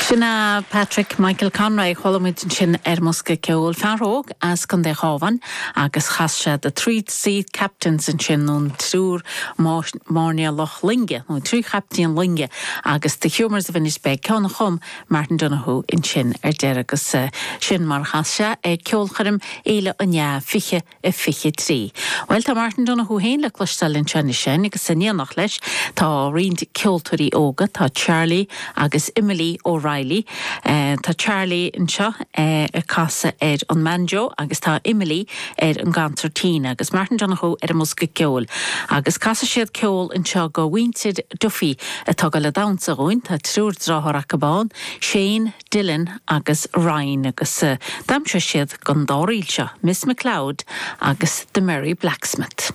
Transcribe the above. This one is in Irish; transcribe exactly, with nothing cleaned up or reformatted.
Sin é Patrick Michael Conroy chuala muid ansin ar an mbosca ceoil fear óg as Contae an Chabháin agus chas sé the Three Sea Captains ansin nó triúr mairnéalach loinge nó trí chaptaen loinge agus the Humours of Inishbeg ceann a chum Martin Donoghue ansin ar deireadh agus uh, sin mar chas sé ag ceolchoirm Fhéile an Fhia fiche a fiche trí. Well tá Martin Donoghue féin le cloisteáil ansin sin agus in éineacht leis tá roinnt ceoltóirí óga tá Charlie agus Emily O'Reilly. Uh, tá Charlie anseo uh, ag casadh ar an mbanjo agus tá Emily ar an gconsairtín agus Martin Donoghue ar an mbosca ceoil. Agus casfaidh siad ceol anseo do mhuintir Duffy atá le damhsa dhúinn tá triúr deartháir acu ann, Shane, Dylan agus Ryan agus uh, damhsóidh siad don dá ríl seo, Miss McLeod agus the Merry Blacksmith.